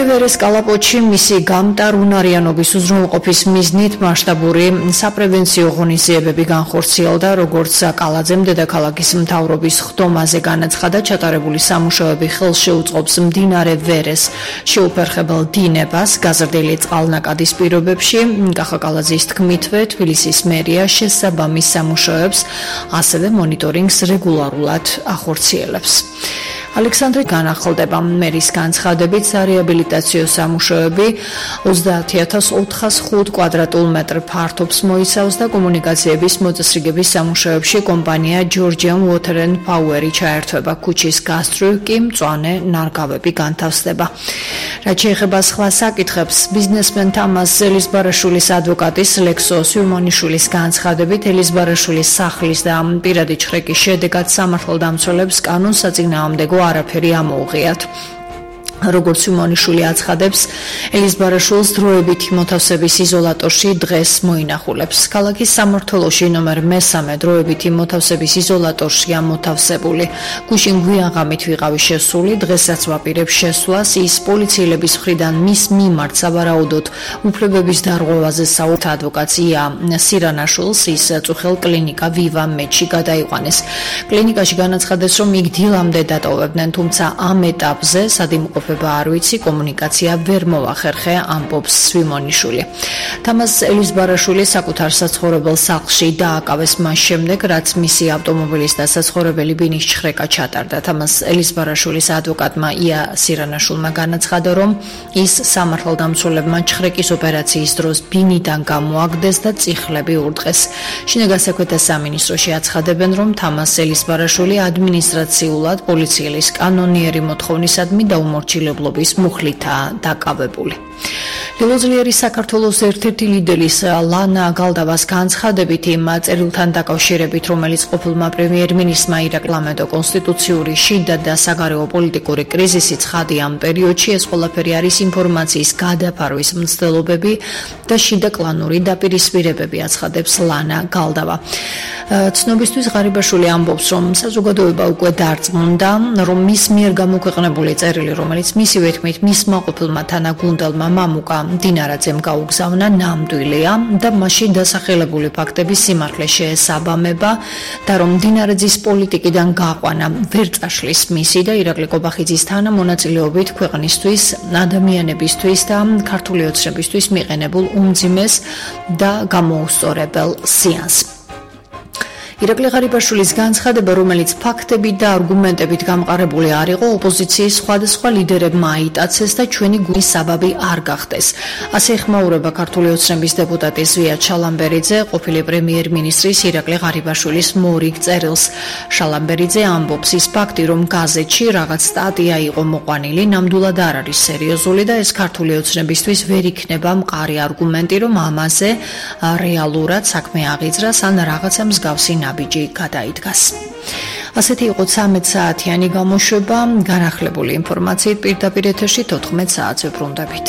მდინარე ვერეს კალაპოტში მისი გამტარუნარიანობის უზრუნველყოფის მიზნით მასშტაბური საპრევენციო ღონისძიებები განხორციელდა, როგორც კალაძემ დედაქალაქის მთავრობის ხდომაზე განაცხადა, ჩატარებული სამუშაოები ხელს შეუწყობს მდინარე ვერეს შეუფერხებელ დინებას გაზრდილი წყალნაკადის პირობებში. კახა კალაძის თქმითვე, თბილისის მერია შესაბამის სამუშაოებს ასევე მონიტორინგს რეგულარულად ახორციელებს. ალექსანდრე განახლდება მერის განცხადებით სარეაბილიტაციო სამუშაოები 30.405 კვადრატულ მეტრ ფართობს მოიცავს და კომუნიკაციების მოწესრიგების სამუშაოებში კომპანია Georgian Water and Power-ი ჩაერთვება, ქუჩის გასწვრივ კი მწვანე ნარგავები განთავსდება. რაც შეეხება სხვა საკითხებს, ბიზნესმენ თამაზ ელიზბარაშვილის ადვოკატის ლექსო სვიმონიშვილის განცხადებით, ელიზბარაშვილის სახლის და პირადი ჩხრეკის შედეგად სამართალდამცველებს კანონსაწინააღმდეგო არაფერი ამოუღიათ. როგორც სვიმონიშვილი აცხადებს, ელიზბარაშვილს დროებითი მოთავსების იზოლატორში დღეს მოინახულებს. ქალაქის სამმართველოში ნომერ 3 დროებითი მოთავსების იზოლატორშია მოთავსებული. გუშინ გვიანღამით ვიყავი შესული, დღესაც ვაპირებ შესვლას. ის პოლიციელების მხრიდან მის მიმართ სავარაუდოდ უფლებების დარღვევაზე საუბრობს ადვოკატ ია სირანაშვილს, ის წუხელ კლინიკა ვივა მედში გადაიყვანეს. კლინიკაში განაცხადეს, რომ იქ დილამდე დატოვებდნენ, თუმცა ამ ეტაპზე სადიმყოფ არ ვიცი, კომუნიკაცია ვერ მოახერხე, ამბობს სვიმონიშვილი. თამაზ ელიზბარაშვილი საკუთარ საცხოვრებელ სახლში დააკავეს მას შემდეგ, რაც მისი ავტომობილის და საცხოვრებელი ბინის ჩხრეკა ჩატარდა. თამაზ ელიზბარაშვილის ადვოკატმა ია სირანაშვილმა განაცხადა, რომ ის სამართალდამცველებმა ჩხრეკის ოპერაციის დროს ბინიდან გამოაგდეს და წიხლები ურტყეს. შინაგან საქმეთა სამინისტროში აცხადებენ, რომ თამაზ ელიზბარაშვილი ადმინისტრაციულად პოლიციის კანონიერი მოთხოვნისადმი დაუმორჩილებლობის მუხლითაა დაკავებული. ლილოძლიერი საქართველოს ერთ-ერთი ლიდერის ლანა გალდავას განცხადებით იმ წერილთან დაკავშირებით, რომელიც ყოფილმა პრემიერ-მინისტრმა ირაკლი ლამედო კონსტიტუციური შიდა და საგარეო პოლიტიკური კრიზისი ცხადი ამ პერიოდში, ეს ყველაფერი არის ინფორმაციის გადაფარვის მცდელობები და შიდა კლანური დაპირისპირებები, აცხადებს ლანა გალდავა. ცნობისთვის ღარიბაშვილი ამბობს, რომ საზოგადოება უკვე დარწმუნდა, რომ მის მიერ გამოქვეყნებული წერილი, რომელიც მისივე თქმით მისმა ყოფილმა თანაგუნდელმა მამუკა დინარაძემ გაუგზავნა, ნამდვილია და მასში დასახელებული ფაქტების სიმართლე შეესაბამება და რომ დინარაძის პოლიტიკიდან გაყვანა ვერ წაშლის მისი და ირაკლი კობახიძის თანამონაწილეობით ქვეყნისთვის, ადამიანებისთვის და ქართული ოცნებისთვის მიყენებულ უმძიმეს და გამოუსწორებელ სიანს. ირაკლი ღარიბაშვილის განცხადება, რომელიც ფაქტებით და არგუმენტებით გამყარებული არ იყო, ოპოზიციის სხვადასხვა ლიდერებმა აიტაცეს და ჩვენი გულის საბაბი არ გახდეს. ასე ეხმაურება ქართული ოცნების დეპუტატი ზვია ჩალამბერიძე ყოფილი პრემიერ-მინისტრის ირაკლი ღარიბაშვილის მორიგ წერილს. შალამბერიძე ამბობს, ის ფაქტი, რომ გაზეთში რაღაც სტატია იყო მოყვანილი, ნამდვილად არ არის სერიოზული და ეს ქართული ოცნებისთვის ვერ იქნება მყარი არგუმენტი, რომ ამაზე რეალურად საქმე აღიძრას ან რაღაცა მსგავსი ნაბიჯი გადაიდგას. ასეთი იყო 13 საათიანი გამოშვება. განახლებული ინფორმაციით პირდაპირ ეთერში 14 საათზე ბრუნდებით.